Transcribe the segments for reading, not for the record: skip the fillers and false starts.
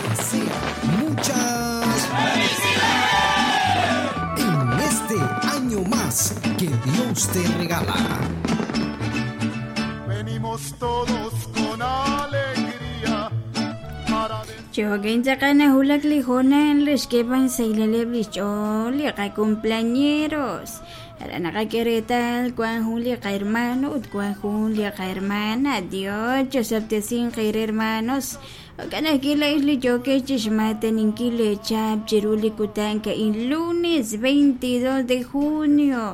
desea, muchas en este año más que Dios te regala. Venimos todos con alegría para Chokin tz'aqal nawulak li hoonal re xk'eeb'al xsahileb' li xch'ool li qacumpleañeros. Aran naqak'e reetal wan jun li qahermano ut wan jun li qahermana. Dios chosob'tesinq eere hermanos. Jo'kan ajwi' laa'ex li yookex chixmaataninkil leechaab' chiru li kutan a'in lunes 22 de junio.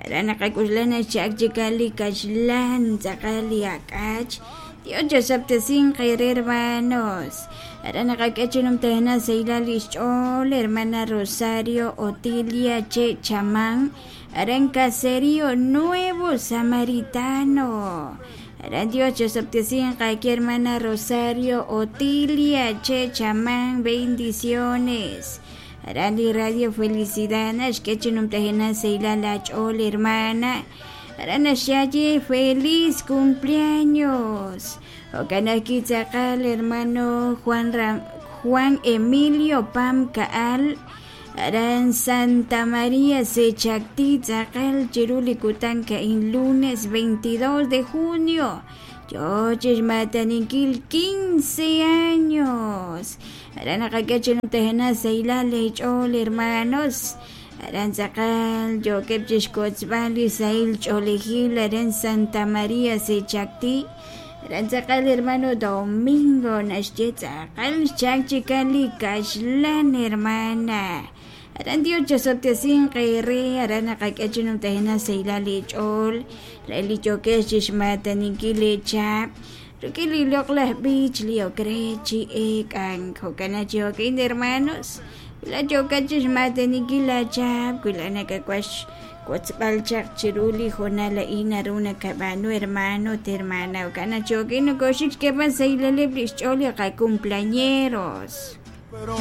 Aran naqak'oxla naxcha'ak chik li kaxlan tz'aqal li ak'ach. Dios chosob'tesinq eere hermanos. Aran naqak'e chi numtajenaq sahilal li xch'ool hermana Rosario Otilia Che Chamán aran Caserío Nuevo Samaritano. Aran Dios chosob'tesinq aawe hermana Rosario Otilia Che Chamán bendiciones. Aran li Radio Felicidad naxk'e chi numtajenaq sahilal aach'ool hermana. Aran naxye feliz cumpleaños. Jo'kan ajwi' tz'aqal hermano Juan, Ram Juan Emilio Pam Kaal aran Santa María Sechacti tz'aqal chiru li kutan a'in lunes 22 de junio. Yo chixmataninkil 15 años. Aran naqak'e chi numtajenaq sahilal leech'ool hermanos. Aran tz'aqal yookeb' chixkotzb'al li sahil ch'oolejil aran Santa María Sechacti. Aran tz'aqal hermano Domingo naxye tz'aqal xchak chik li kaxlan hermana. Aran Dios chosob'tesinq eere aran naqak'e chi numtajenaq sahilal leech'ool re li yookex chixmataninkil leechaab' rik'in li loq'laj b'ich li ok re chi eek'ank. Jo'kan chi jo'kin hermanos wi la yookat chixmataninkil laachaab' wi la nakawaj xwotzb'al chaq chiru li hoonal a'in naru nakab'aanu hermano ut hermana. Jo'kan chi jo'kin nokoxik xk'eeb'al sahilaleb' li xch'ool li qacumpleañeros. Pero